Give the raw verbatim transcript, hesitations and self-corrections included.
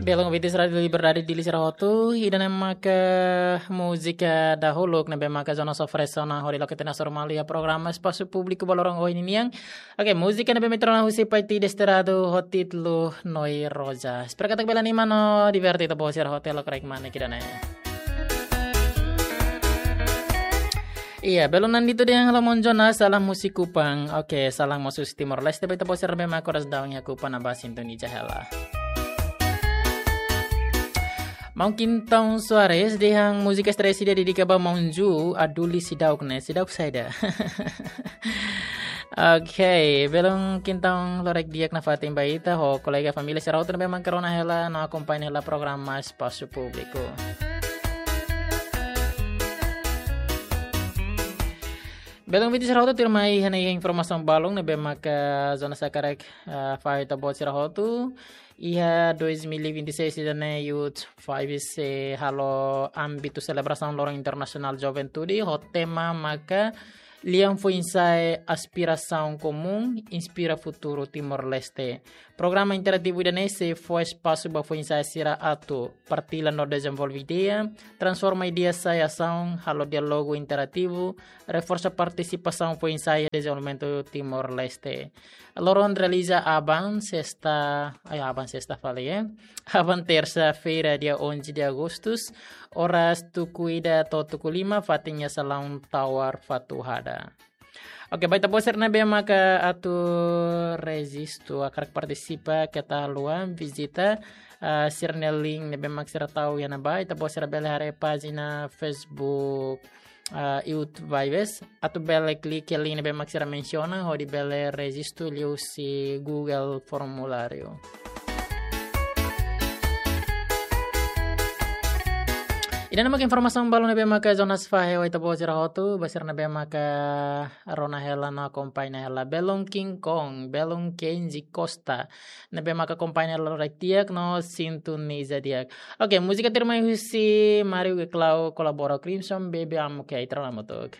Belun ouvintes Rádiu Liberdade Dili sira hotu, ida-ne'e maka múzika dahuluk ne'ebé maka Jonas oferese ona hodi loke tiha ona sira ba iha programa Espasu Públiku ba loron ohin nian. Oke, múzika ne'ebé mak rona husi Paiti Desterrado ho títulu Noi Roja. Espera katak bele anima no diverte ita-boot sira hotu, loke rek mane kida ne'e. Iya, belun nandi tu dehan halo maun Jonas, salam husi Kupang. Oke, salam mós husi Timor-Leste, ba ita-boot sira ne'ebé mak oras daudaun iha Kupang ne'ebá sintoniza hela. Maun Quintão Soares dehan múzika stress ida dedika ba maun Ju, Aduli Sidauk ne'e, Sidauk saida. Oke, belun Quintão, loron di'ak nafatin ba ita, ho kolega família sira hotu ne'ebé mak rona hela, no akompaña hela programa Espasu Públiku. Belun ouvintes sira hotu, tuirmai hanesan informasaun balun ne'ebé maka Jonas hakarak, eh, fahe ba ita-boot sira hotu. Iha dois mil e vinte e seis ida-ne'e Youth Vibes sei halo ámbitu selebrasaun Loron Internasionál Juventude, ho tema maka Lian Foin-Sa'e, Aspirasaun Komún, Inspira Futuru Timor-Leste. Programa interativu ida-ne'e sei fó espasu ba foin-sa'e sira atu partilla no dezenvolve ideia, transforma ideia sai asaun, halo diálogu interativu, reforsa partisipasaun foin-sa'e iha dezenvolvimentu Timor-Leste. Loron realiza aban sesta, ai, aban sesta fali, eh. Aban tersa-feira, dia onze de agosto, oras tuku ida to'o tuku lima, fatin iha Salaun Tower Fatuhada. Oke, ba ita-boot sira ne'ebé maka atu rejistu, hakarak partisipa, keta haluha vizita, ah, sira-nia link ne'ebé mak sira tau iha ne'ebá, ita-boot sira bele haree pájina Facebook, ah, Youth Vibes, atu bele klik iha link ne'ebé mak sira mensiona, hodi bele rejistu liuhusi Google Formuláriu. Ida-ne'e maka informasaun balun ne'ebé maka Jonas fahe ba ita-boot sira hotu, ba sira ne'ebé maka rona hela no akompaña hela. Belun King Kong, belun Kenji Costa, ne'ebé maka akompaña hela loron di'ak no sintoniza di'ak. Oke, múzika tuirmai husi Mario Geclau kolabora Crimson, Baby I'm Okay, ita rona hamutuk.